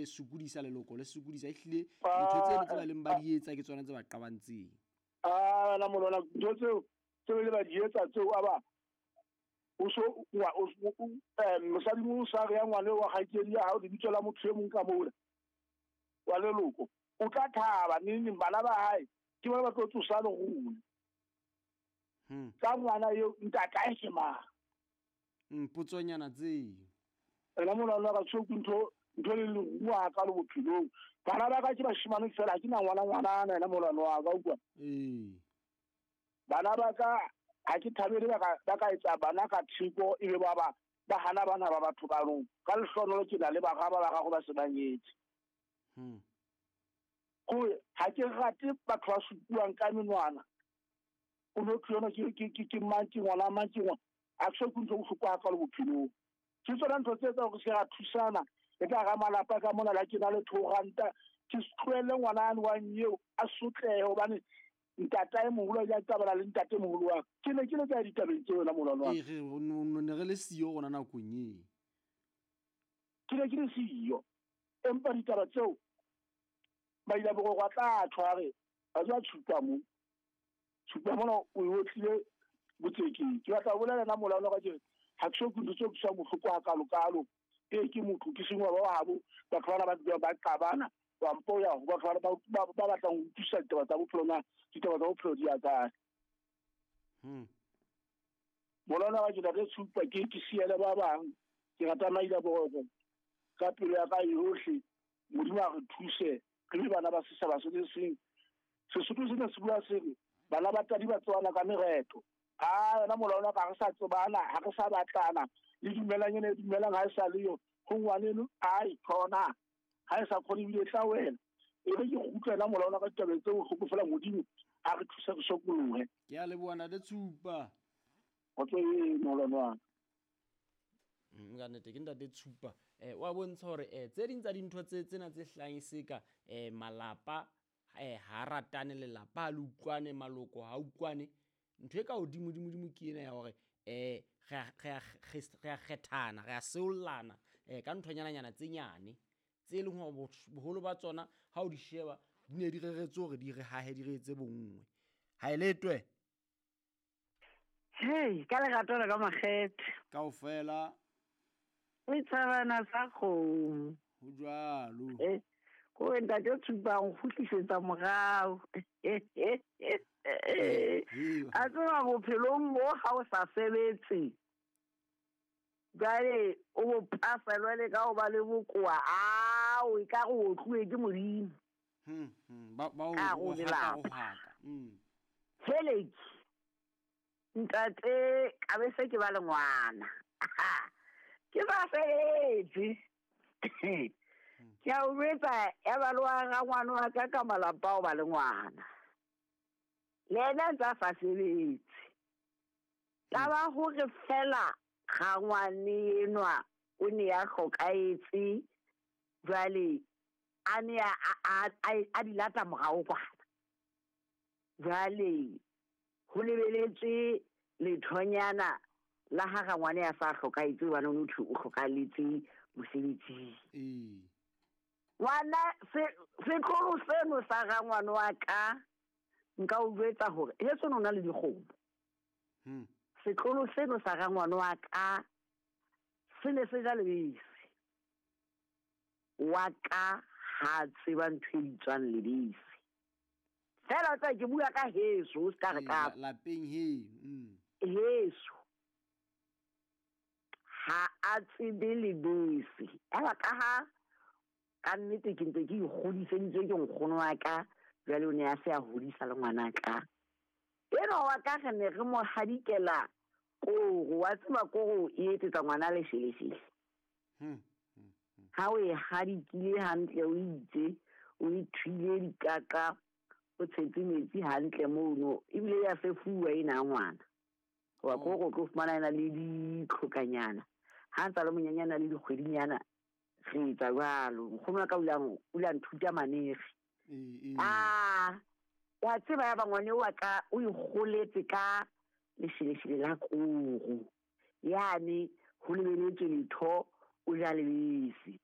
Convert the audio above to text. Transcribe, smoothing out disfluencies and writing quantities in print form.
sokodisa leloko le sokodisa ehlile ntho tseno tse ba leng ba di etsa ke tsona tse ba qabantseng. A na molwana ntho tseo tse le ba di etsa tseo a ba o so wa o mosadi mo sa re ya ngwane wa kgaitsedi ya hao lebitso la motho e mong ka mola wa leloko o tla thaba neng neng bana ba hae ke bona ba tlo tsosa lerole. Ka ngwana eo ntatae ke mang? Potsonyana tseo. Ena molwana ka tsho ntho ntho le leruo ha ka le bophelong. Bana ba ka ke bashimane fela ha ke na ngwana ngwanana ena molwana wa ka utlwa. Ee. Bana ba ka ha ke thabele ba ka etsa bana ka theko ebe ba ba ba hana bana ba batho ka rong. Ka lehlohonolo ke na le bara ba bararo ba se ba nyetse. Ko ha ke rate batho ba supuang ka menwana. O no tlo ke mang ke ngwana mang ke ngwana. A ke so ke ntho bohloko ha ka le bophelong. Ke tsona ntho tse etsang hore se ra thusana. E ka ra malapa ka mona la ke na le 2 ranta. Ke se tlohelle ngwana ane wa nyeo a sotlehe hobane ntatae moholo a ile a qabana le ntate moholo wa ka. Ke ne ke le ka ditabeng tseo wena molwana wa ka. Ee, re ne re le siyo rona nakong eo. Ke ne ke le siyo. Empa ditaba tseo ba ile boroko a tla tshware ba tswa tshupa mo. Tshupa mona o e otlile botsekeng. Ke batla ho bolela nna molwana wa ka ke re ha ke so ke ntho tse utlwisang bohloko hakalo-kalo. Ee ke motho ke sengwe ba habo batho bana ba dulang ba qabana wa mpo ya ho batho bana ba batlang ho utlwisisa ditaba tsa bophelo na ditaba tsa bophelo di ya kae. Molwana wa ke ntate Tshupa ke ke siele ba bang ke rata maila boroko ka pelo ya ka yohle. Modimo a re thuse re be bana ba setjhaba se le seng. Sesotho sena se bua se re bana ba tadi ba tsebana ka mereto. A yona molwana ka re sa tsebana ha re sa batlana le dumelang ene dumelang ha e sa le yo ho ngwaneno ai khona ha e sa khone ebile tla wena e be ke kgutlela molwana ka ditabeng tse bohloko fela Modimo a re thuse re sokolohe. Ke a leboha ntate Tshupa. Kgotso e molwana wa ka. Ka nnete ke ntate Tshupa. Wa bontsha hore tse ding tsa dintho tse tsena tse hlahang e se ka malapa ha ratane lelapa ha le utlwane maloko ha utlwane. Ntho e ka hodimo dimo dimo ke ena ya hore re a kgethana re a seollana ka nthonyananyana tse nyane tse leng hore boholo ba tsona ha o di sheba di ne di reretswe hore di re hahe di re etse bonngwe. Ha e letwe. Hey, ka lerato le ka makgethe. Kaofela. O tshabana sa kgomo. Ho jwalo. Ko ntate Tshupa o kgutlisetsa morao. A tseba bophelong bo ha o sa sebetse. Jwale o bo pasa jwale ka ho ba le bokoa ao e ka re o otluwe ke Modimo. Ba o Ka ho lelapa. Heleki. Ntate ka be se ke ba le ngwana. Ke ba sebetse. Ke a o jwetsa ya ba le wa rangwane wa ka ka malapa o ba le ngwana. Le yena ntse a sa sebetse. Taba hore fela rangwane enwa o ne a hlokahetse jwale a ne a di lata morao kwana. Jwale ho lebeletswe lethonyana la ha rangwane a sa hlokahetse hobane o thwe o hlokahalletse mosebetsing. Ee. Ngwana setlolo seno sa rangwane wa ka nka o jwetsa hore heso no na le dikgomo. Setlolo seno sa rangwane wa ka se ne se ja lebese. Wa ka ha tseba ntho e bitswang lebese. Fela tsa ke bua ka heso o ska re ka lapeng he. Heso ha a tsebe lebese. Eba ka ha ka nnete ke ntse ke ikgodiseditswe ke nkgono wa ka jwale o ne a se a hodisa le ngwana ka. Enwa wa ka re ne re mo hadikela koro, wa tseba koro e etsetsa ngwana lesheleshele. Ha o e hadikile hantle o itse o e thwile dikaka o tshetse metsi hantle mono ebile ya fefuwa ena ngwana. Wa koro o tlo fumana ena le ditlhokanyana. Ha ntsa le monyenyana le dikgwedinyana re etsa jwalo. Nkgono wa ka o ile a nthuta manere. Ah, wa tseba ya ba ngwane wa ka o ikgoletse ka lesheleshele la koro. Yane ho lebeletswe letho o ja lebese.